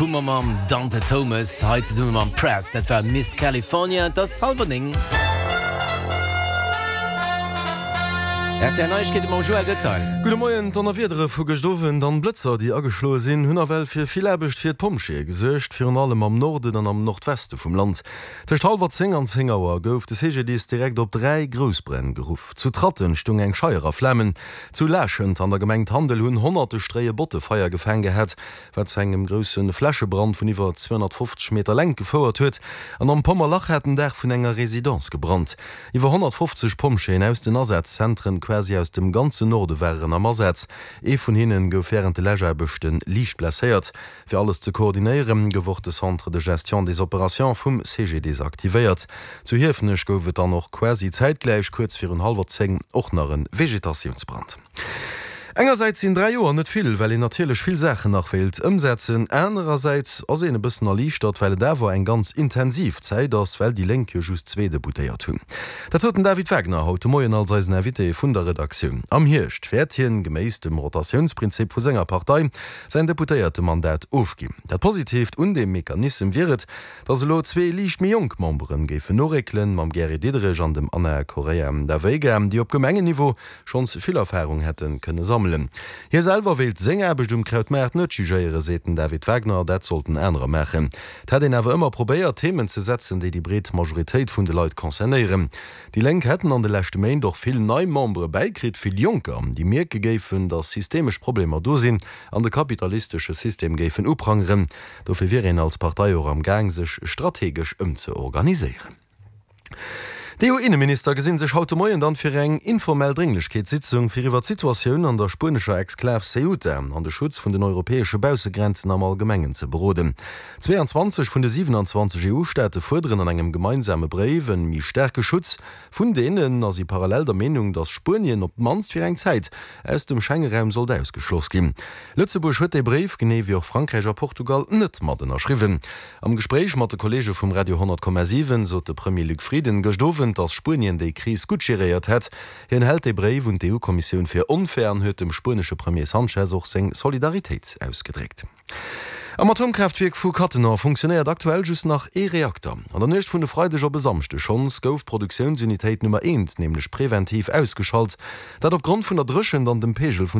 Hu mer mam Dante Thomas hei zesumme mam Press, dat war Miss California, et ass hallwer 9. Rtl Neiegkeete mam Joël Detail. Gudde Moien, D'Donnerwiedere vu gëscht Owend an d'Blëtzer, déi ageschloe sinn, hunn nawell fir vill Aarbecht fir d'Pompjeeë gesuergt, virun allem am Norden an am Nordweste vum Land. Tëscht hallwer 10 an 10 Auer gouf de CGDIS direkt op 3 Groussbränn geruff. Zu Tratten stung eng Scheier a Flamen, zu Laaschent an der Gemeng Tandel hunn honnerte Stréie Botte Feier gefaang gehat, wat zu engem grousse Flächebrand vun iwwer 250 Meter Längt gefouert huet, an am Pommerlach hat den Daach vun enger Residence gebrannt. Iwwer 150 Pompjeeën aus den Asazzentren quasi aus dem ganzen Norde waren am Asaz. Ee vun hinne gouf wärend de Läschaarbechte liicht blesséiert. Fir alles ze koordinéieren, gouf och de Centre de gestion des opérations vum CGDIS aktivéiert. Zu Hiefenech gouf et dann och quasi zäitgläich, kuerz virun hallwer 10, och nach e Vegetatiounsbrand. Engersäits sinn 3 Joer net vill, well een natierlech vill Saachen nach wéilt ëmsetzen. Anerersäits ass een e bëssen erliichtert, well et awer eng ganz intensiv Zäit ass, well déi Lénk jo just zwee Deputéiert hunn. Dat sot den David Wagner haut de Moien als eisen Invité vun der Redaktioun. Am Hierscht wäert hien, geméiss dem Rotatiounsprinzip vu senger Partei, säin Deputéiertemandat ofginn. Dat Positiivt un deem Mechanissem wier et, datt elo zwee liicht méi jonk Memberen géifen noréckelen, mam Gary Diderich an dem Ana Correia da Veiga, déi op Gemengenniveau schonns vill Erfarung hätte kënne sammelen. Hie selwer wéilt seng Aarbecht um Krautmaart net jugéieren, seet den David Wagner, dat sollten anerer maachen. Et hätt een awer ëmmer probéiert, Themen ze setzen, déi déi breet Majoritéit vun de Leit concernéieren. Déi Lénk hätten an de leschte Méint och vill nei Membere bäikritt, vill Jonker, déi mierke géifen, datt systemesch Problemer do sinn an de kapitalistesche System géifen uprangeren. Dofir wier een als Partei och am Gaang, sech strategesch ëmzeorganiséieren. D'EU-Inneminister gesinn sech haut de Moien dann fir eng informell Drénglechkeetssitzung, fir iwwer d'Situatioun an der spuenescher Exklav Ceuta an de Schutz vun den europäesche Baussegrenzen am Allgemengen ze beroden. 22 vun de 27 EU-Staate fuerderen an engem gemeinsame Bréif en méi staarke Schutz vun deenen a si parallel der Meenung, datt Spuenien op d'mannst fir eng Zäit aus dem Schengeraum sollt ausgeschloss ginn. Lëtzebuerg huet dee Bréif, genee wéi och Frankräich a Portugal, net mat ënnerschriwwen. Am Gespréich mat de Kolleege vum Radio 100,7 sot de Premier Luc Frieden gëscht Owend, datt Spuenien déi Kris gutt geréiert hätt. Hien hält dee Bréif un d'EU-Kommissioun fir onfair an huet dem spuenesche Premier Sanchez och seng Solidaritéit ausgedréckt. Am Atomkraaftwierk vu Cattenom funktionéiert aktuell just nach ee Reakter. An der Nuecht vun e Freideg op e Samschdeg schonns gouf d'Produktiounsunitéit Nummer eent nämlech preventiv ausgeschalt. Dat opgrond vun der Dréchent an dem Peegel vun der.